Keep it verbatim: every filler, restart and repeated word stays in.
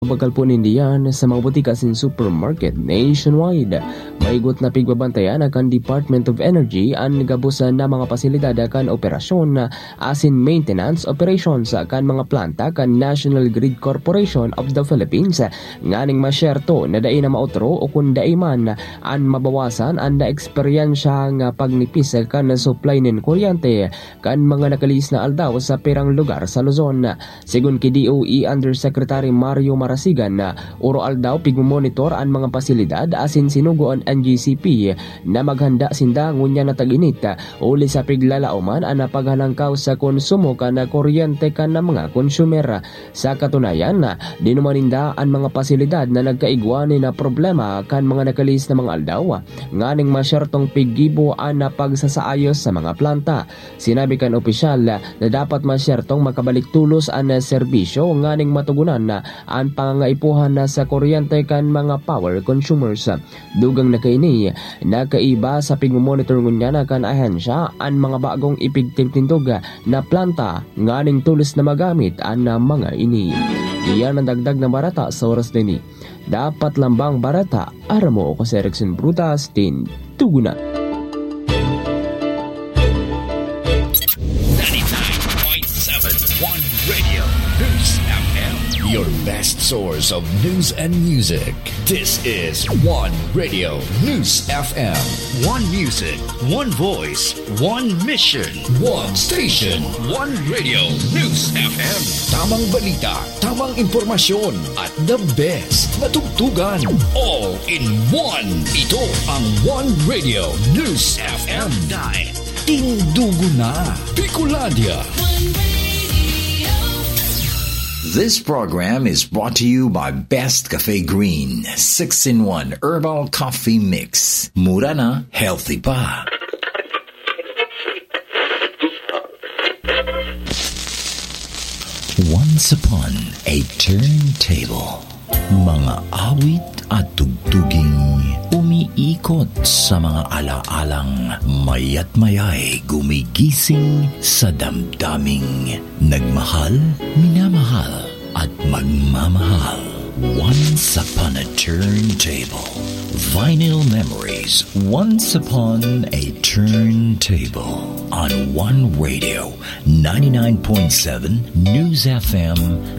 Pagkalpon nin diyan sa mga butika asin supermarket nationwide. Maigot na pigbabantayan kan Department of Energy an gabos na mga pasilidad kan operasyon asin maintenance operations kan mga planta kan National Grid Corporation of the Philippines, nganing masyerto na dai na maotro o kun dai man an mabawasan an naeksperyensyahang pagnipis kan supply nin kuryente kan mga nakalihis na aldaw sa pirang lugar sa Luzon. Segun ki D O E Undersecretary Mario Marasigan, oro-aldaw pigmomonitor an mga pasilidad asin sinugo an N G C P na maghanda sinda ngunyan na tag-init, huli sa piglalaoman an paghalangkaw sa konsumo kan kuryente kan mga konsumer. Sa katunayan, dinuman ninda an mga pasilidad na nagkaigwa nin problema kan mga nakalihis na mga aldaw, nganing masyertong piggibo an pagsasaayos sa mga planta. Sinabi kan opisyal na dapat masyertong makabalik tolos an serbisyo nganing matugunan an pangangaipuhan sa kuryente kan mga power consumers. Dugang na kaini, nakaiba sa pigmomonitor ngunyan kan ahensya an mga bagong ipigtindog na planta nganing tolos na magamit an mga ini. Iyan an dagdag na bareta sa oras na ini. Dapat lambang bareta, aram mo, ako si Erickson Brutas, tindugunan. ninety-nine point seven One Radio News F M. Your best source of news and music. This is One Radio News F M. One music, one voice, one mission. One station. One Radio News F M. Tamang balita, tamang impormasyon, at the best na tugtugan. All in one. Ito ang One Radio News F M. Dahil tindugo na. Bicolandia. This program is brought to you by Best Cafe Green, six-in-one Herbal Coffee Mix. Mura na, healthy pa. Once upon a turntable. Mga awit at tugtuging umiikot sa mga alaalang mayat mayay gumigising sa damdaming nagmahal, minamahal, at magmamahal. Once upon a turntable. Vinyl memories. Once upon a turntable. On One Radio, ninety-nine point seven News F M,